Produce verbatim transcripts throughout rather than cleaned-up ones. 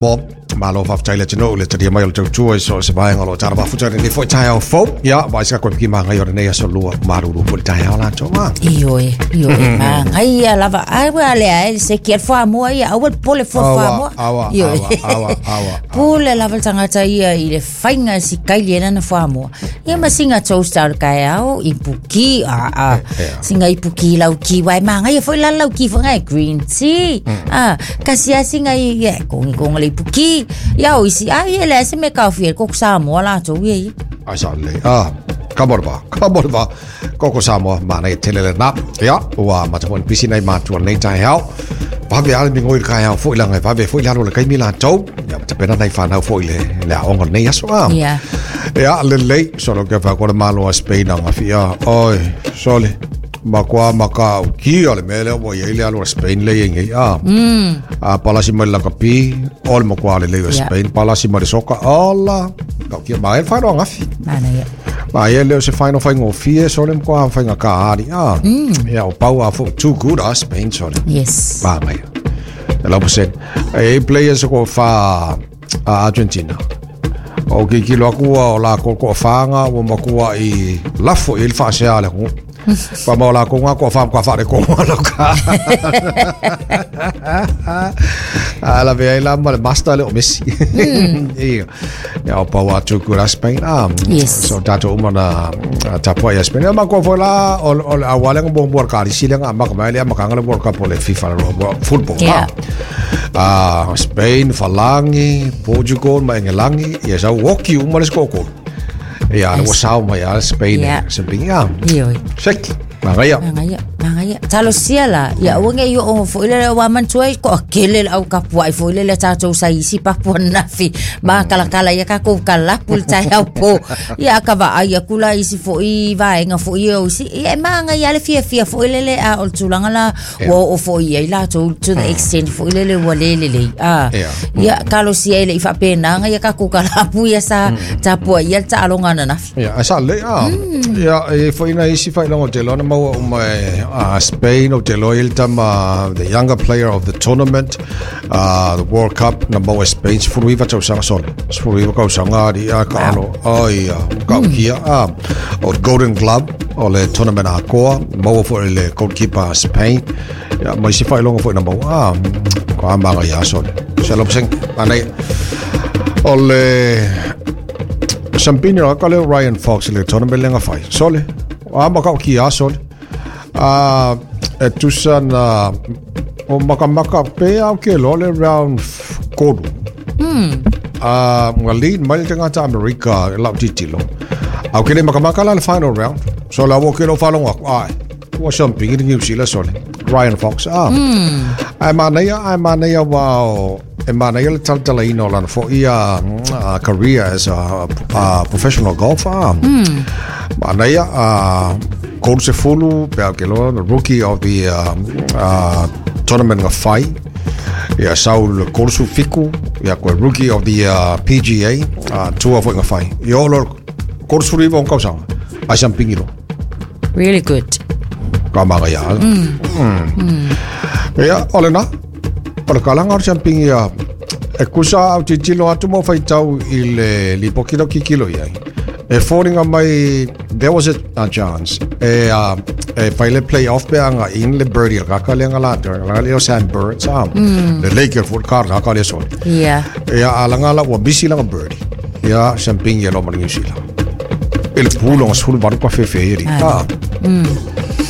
Mo, malo faafetai le atunuu le talia mai o le tautua i so o se vaega o lo o talavafuta lenei foi taeao fou. Ia, vaai se koe piki magai o lenei aso lua malulu foi le taeao latou ma. Ioe, ioe, magaia lava. Ai ua le ai se ki fuamoa ia, aua le pole fua Aua, fuamoa. aua, Ioe. aua, aua, aua. Pule lava le tagata ia i le faiga e sikaili e lana fuamoa. Ia ma singa toast au le kaeao, ipuki, a, a, Eh, singa ipuki lauki, wai magaia foi la lauki foi ngai green tea. Ah, kasi a singa i, ia, kongi konga le ipuki. Ia o isi, ai ia le se me kaufi e koko Samoa latou ia ia. Ai sa lelei. Ah, ka mo le va, ka mo le va. Koko Samoa, mana i tele le nā. Ia, ua amata foi ona pisi nai matua lenei taeao. Vave lava le migoi i le kaeao foi laga e vave foi le alu o le kaimi latou. Ia, ma tapena nai fanau foi i le, le aoga o lenei aso. Ah. Ia. Ia, lelei, solo ke fa ko le malo a Spain anga fia. Oi, sole. Makoa maka ukia le mea lea ua iai le alu a Spain le iai nei. Ah. A palasi mai le lakapi, o le makoa lelei o Ia. Spain, palasi mai le soka, ola. Ka ukia ma e whairo angafi. Mana ia. Ma e leo se whaino whaingofie, sole mkoa whainga ka ari. Ah. Ia, o pau a fo, too good a Spain, sole. Yes. Ma mai. Lau percent. E players ko fa a Argentina. O ke kilo aku o la ko ko whanga o makua i lafo i le whaasea le ku. Pa mo la ko ngā ko wha ko wha le ko lo ka. A la vea la ma le master le o Messi. Ia. Ia o pau atu ku la Spain. Ah. Yes. So tatou uma na tapua ia Spain. Ia ma ko fo la o o a wale ngo bo ka ri sile nga ma ka mai le ma ka le World Cup o le FIFA le football. Yeah. Ah, Spain, Falangi, Portugal, ma Engelangi, ia sa woki uma le skoko. Ia, le wasau mai a Spain, Yeah. se pinga. Ioe. Sek, magaia. Magaia, magaia. Talosia la, ia aua nei oo foi le le ua manatua ai toakele le aukapuaʻi foi le le tatou saisi papua nafi makalakala ia kakou kalapu le taeao po. Ia akavaai aku la isi foʻi vaega foʻi ia o isi. Ia e magaia le fiafia foi le le a o le tulaga la ua oo foʻi ai latou to the extent foi le le ua lē lelei. A, Ia. ia talosia e leʻi faapenaga ia kakou kalapu ia sa tapuaʻia le taaloga ananafi. Ia, a sa le a. Ia, e foi na isi fai longo te lona maua uma e a Spain o te loi il tama the younger player of the tournament, uh, the World Cup na maua Spain sefulu iva tausaga sole. Sefulu iva tausaga ari a ka alo. Ai a ka ukia a o Golden Glove o le tournament a koa maua foi le goalkeeper a Spain. Ia, ma isi fai longo foi na maua a ko a manga ia sole. Se lo peseng, anei o le Sampini la ka le Ryan Fox le tournament lenga fai. Sole. A maka ki a sole. A e tusa na o maka maka pe au ke lo le round f- kolu. A nga lead mai le tangata Amerika e lau titilo. Au ke le maka maka la le final round. So la wo ke lo falonga aku ai. Ua Sampini ni New Zealand sole. Ryan Fox. Ah. Ai manaia, ai manaia wa o e manaia le talatalaina o lana foʻi a a career as a, a professional golfer. Ah. Manaia a kolu sefulu pe au ke loa the rookie of the uh, uh, tournament nga fai. Ia sau le kolu su fiku ia koe rookie of the uh, P G A uh, tua foi nga fai. Ia o lo kolu sefulu iwa o kausaga. Ai sampingi lo. Really good. Ka manga ia. Mm. Ia, o le na. O le kalanga o le sampingi ia. E kusa au titilo atu mo whaitau i le lipoki lo kikilo iai. E fōringa mai, there was a, a chance. E, uh, e whai le play-off pe anga in le birdie, kaka le anga lātou, anga le o Sam Bird, sa. Le Laker foot card, kaka le sole. Ia. Ia, a langa la, ua bisi langa birdie. Ia, sampingi ia lo ma le New Zealand. E le pulo nga sefulu valu pa fefe eri. Ah.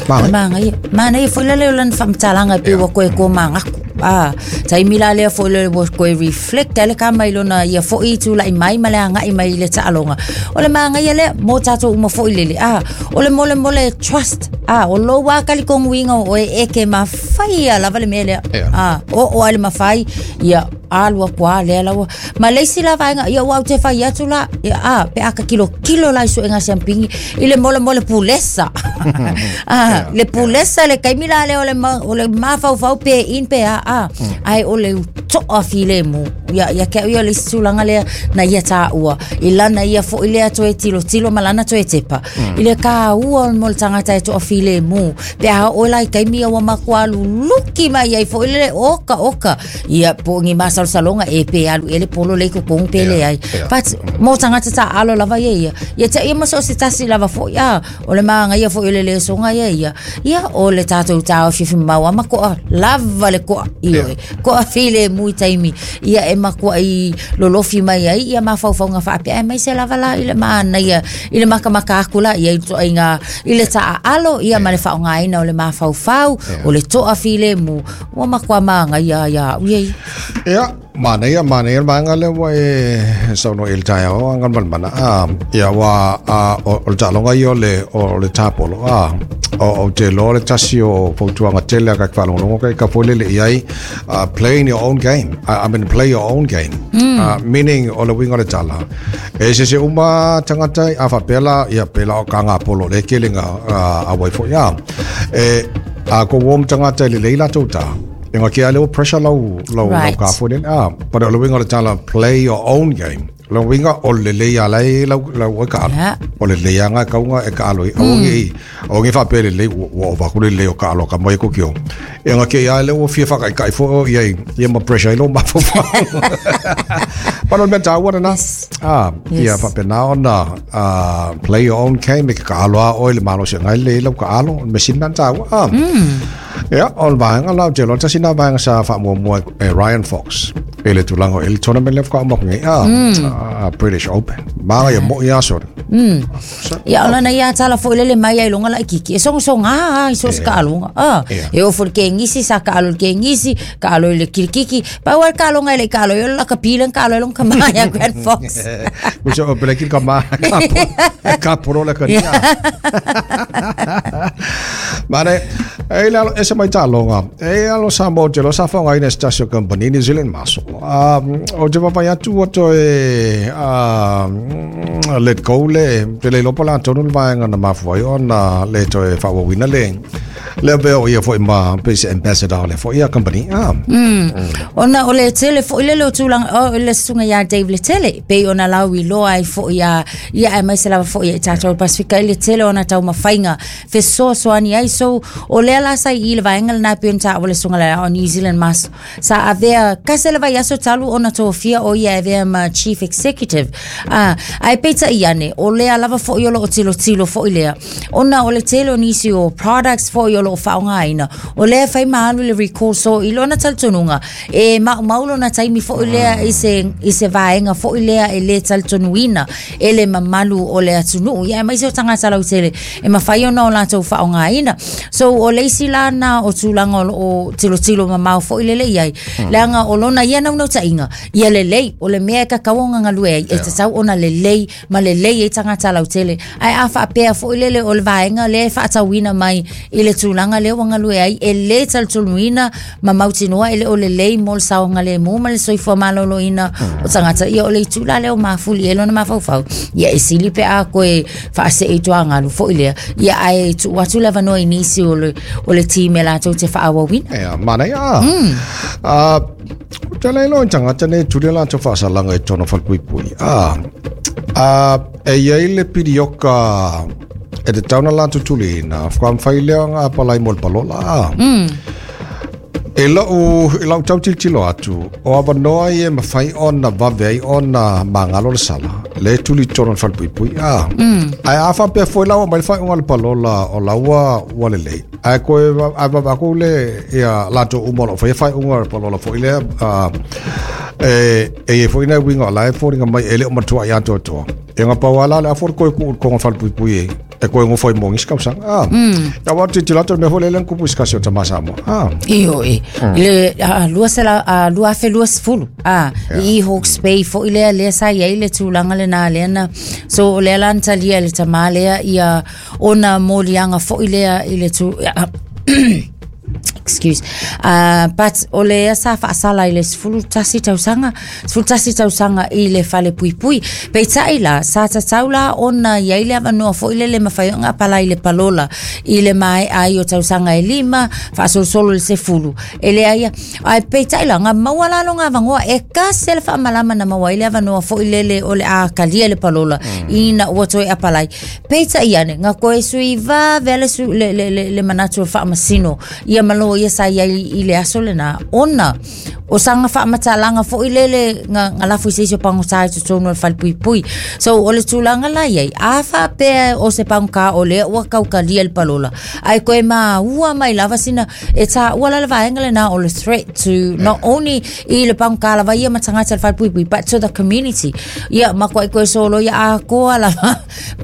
Māngai. Magaia. Manaia foi le le o lana faamatalaga e pei ua koe ko magaku. Ah, taimi la lea foi le ua koe reflect ai le ka mai lona ia foʻi tulaʻi mai ma le agaʻi mai le taaloga. O le magaia lea mo tatou uma foʻi lele. Ah, o le molemole trust. Ah, o lou akali koguiga o oe e ke mafaia lava le mea lea. Ia. Ah, o o ai le mafai ia alu aku a lea laua. Ma le isi la vaega, ia ua au te fai atu la, ia, ah, pe aka kilo kilo la i suega siampingi, i le molemole pulesa. Ah, le pulesa le kaimi la lea o le ma, o le mafaufau pe in pe a, ah, ai o le Toafilemu. Ia ia ke ia le tulaga lea na ia taua. I lana ia foi lea toe tilotilo ma lana toe tepa. I le kaua o le mo le tagata e toafilemu. Pe a oo la i taimi ia ua matua luluki mai ai foi lele oka oka. Ia po o ni masalosaloga e pe alu ea le polo lea i totonu pe leai. But mo tagata taaalo lava ia ia. Ia te ia ma so o se tasi lava foi a. O le magaia foi o le lesoga ia ia. Ia o le tatou taofi mamao ma koa lava le koa ioe. Koa filemu i taimi. Ia e makuai lolofi mai ai ia mafaufauga faapea aemaise lava la i le manaia i le makamaka aku la ia i toaiga i le taaalo ia ma le faaaogaina o le mafaufau o le toafilemu ua matua magaia ia au ia. Ia manaia manaia le vaega lea ua e saunoa i le taeao agamalemana a ia ua o le taaloga ia o le o le tapolo a o te iloa le tasi o fautuaga tele a kake faalogologo kai ka foi lele i ai playing your own game. I mean play your own game. Mm. Meaning o le uiga o le tala e se se uma tagata a faapea la ia pela o kagapolo le kelega a uai foi a e a ko uo ma tagata i lelei latou tā e ga ke a leo pressure lau lau lau ka foi lele a but o le uiga o le tala play your own game. Le uiga o le lelei ala e lau lau e kaalo o le lelei aga e kauga e kaalo ai aua nei aua nei faapea lelei ua ova aku le lelei o kaalo ka mai e kukio e ga ke ia le ua fia faakaikai foi o iai ia ma pressure ai lou mafaufau. But o le mea taua lena a ia faapena ona play your own game e ke kaalo a oe le malosiaga ai lelei lau kaalo o le mea sili lena ona taua a. Ia o le vaega la ou te iloa tasi lena vaega sa faamuamua e Ryan Fox e le tulaga o i le tournament lea faatoa uma atu nei a British Open maga ia moi aso. Ia o lana ia tala foi lele mai ai loga laʻikiki e sogasoga a i so o se kaaloga a e oo foi i le kegisi sa kaalo i le kegisi kaalo i le kilikiki pau a le kaaloga e leʻi kaalo ai o le lakapi lea na kaalo ai lona kamā ia Grand Fox. Uso o pele kili kamā ka polo le kania. Mane e le alo ese mai taaloga e alo sa mo te lo sa faaaogaina e se tasi o company New Zealand Muscle o te vaavaai atu ua toe let go le te le iloa po o le a tonu le vaega na mafua ai ona le toe faaauauina le lea pea o ia foi ma pei se ambassador le foi ia company a. Ona o le tele foi lele o tulaga o le susuga iā Dave Letele pei ona lauiloa ai foi ia ia aemaise lava foi ia i tatou o le Pasifika i le tele ona taumafaiga fesoasoani ai. So o lea la sa i le vaega lena pei ona taua le susuga le o New Zealand Muscle sa avea kasi le vaiaso talu ona tofia o ia e avea ma Chief Executive a ae peitai ane o lea lava foi o loo tilotilo foi lea ona o le tele o nisi o products foi o loo faaaogaina o lea e fai ma alu le recall. So i lona talitonuga e maumau lona taimi foi lea i se i se vaega foi lea e lē talitonuina e le mamalu o le atunuu ia aemaise o tagata lautele e mafai ona o latou faaaogaina. So o le isi lana o tulaga o loo tilotilo mamao foi lele i ai leaga o lona ia naunautaiga ia lelei o le mea e tatau ona galue ai e tatau ona lelei ma lelei ai tagata lautele ae a faapea foi lele o le vaega lea e faatauina mai i le tulaga lea ua galue ai e lē talitonuina ma mautinoa e le o lelei mo le saogalemu ma le soifua maloloina o tagata ia o le itu la lea o mafuli ai lona mafaufau ia e sili pe a koe faasee i tuagalu foi lea ia ae tuu atu le avanoa i nisi o le o le team e latou te faaauauina. Ia manaia a te le iloa i tagata nei e tuli latou faasalaga i totonu o falepuipui a a e iai le pirioka e tatau ona latou tuliina faatoa mafai lea ona apalai mo le palola a. E lou i lau tau tilotilo atu o avanoa ia e mafai ona vave ai ona magalo le sala le tuli i totonu o le falepuipui a. Ae a faapea foi la ua aumai le faaiuga a le palola o la ua ua lelei ae koe ae vavaeatu le ia latou uma o loo faia faaiuga a le palola foi lea e e iai foi nai uiga o la e foliga mai e le o matuai atoatoa e ga pau lava la o le a foi le toe tuu i le toga o le falepuipui e e koe nofo ai mo nisi tausaga a. Aua o tilotilo atu le mea foi lea na tupu i se tasi o tamā Samoa a. Ioe i le lua sela lua afe lua sefulu a i Hawke's Bay foi lea lea sa iai le tulaga lenā lea na. So o lea la na talia e le tamā lea ia ona moliaga foi lea i le tu Excuse. Uh, but o le sa faasala i le sefulu tasi tausaga, sefulu tasi tausaga i le fale puipui. Peitai la, sa tatau la ona iai le avanoa foi lele mafai ona apalai le palola i le maea ai o tausaga e lima, faasolosolo le sefulu. E leai, ae peitai la, ga maua la loga avanoa e tasi le faamalama na maua ai le avanoa foi lele o le a kalia le palola ina ua toe apalai. Peitai ane, ga koe sui vave le, su, le, le, le, le manatu o faamasino ia malo ia sa iai i le aso lena ona o saga faamatalaga foʻi lele ga ga lafo i se isi o pagotā i totonu o le falepuipui. So o le tulaga la iai a faapea o se pagotā o lea ua kaukalia le palola ae koe maua mai lava sina e taʻua la le vaega lena o le threat to not only i le pagotā lava ia ma tagata le falepuipui, but to the community. Ia makuaʻi koe solo ia atoa lava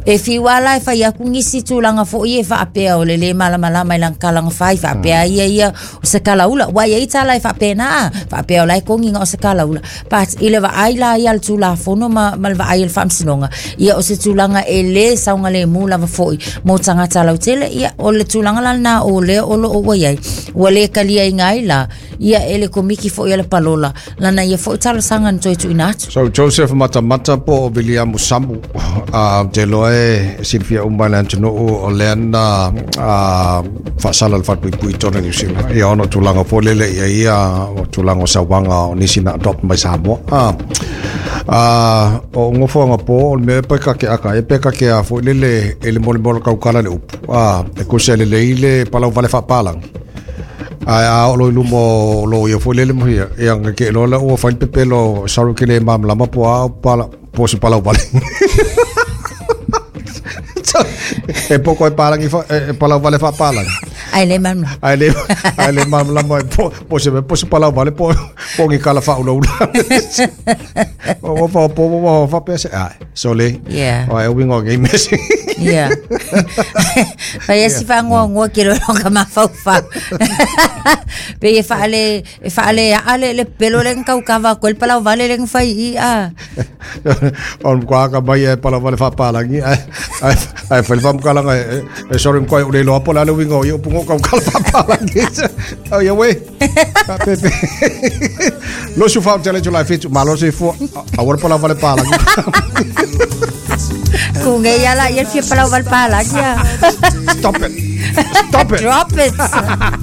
e fiu ala e fai aku nisi tulaga foʻi e faapea o le lē malamalama i lagakalaga fai faapea ia ia o se kalaula ua iai tala e faapena a faapea o lae kogiga o se kalaula, but i le vaai la ia le tulafono ma, ma le vaai o le faamasinoga ia o se tulaga e lē saogalemu lava foʻi mo tagata lautele. Ia o le tulaga la lenā o lea o loo ua iai ua lē kaliaina ai la ia e le komiki foʻi a le palola lana ia foʻi talosaga na toe tuuina atu. So Joseph Matamata po o William Samu, uh, te loa e silafia uma le atunuu o lea na uh, faasala le falepuipui tona Niu Sila. Ia ona o tulaga foi lele ia ia o tulaga o sauaga o nisi na adopt mai Samoa. Ah, uh, o ngofoanga po o le mea pe ka ke aka e pe ka ke a foi lele e le mole mole kaukala le upu. Ah, e kuse le le ile palau vale faapalangi. Ai a o lo i luma o lo ia foi lele mo ia ia nga ke lola ua fai pepelo saru ke le mamlama po a pala po se palau vale. E poko e palangi fa e palau vale faapalangi. Ai le mamla. Ai le ai le mamlama e po po se po se palau vale po po ngi kala fa ula ula. O fa po po fa pe se ai so le. Yeah. O e wingo ngi mesi. Yeah. Fa ia si whangoa ke ro ka mafaufau. Pe e whaale, e whaale a le le pelo le ngau kava ko le palau vale le ngwhai i a. On kwa ka mai e palau vale whapalangi. Ai ai ai fa fam kala ngai e sorry mkoi ule lo apola le wingo i upungo kau kala whapalangi. Oh ya we. Pe pe. Lo su fa tele tu la fitu malo se fu a wor palau vale palangi. Ku ngai ala ia fia palau vale palangi. Stop it. Stop it. Drop it.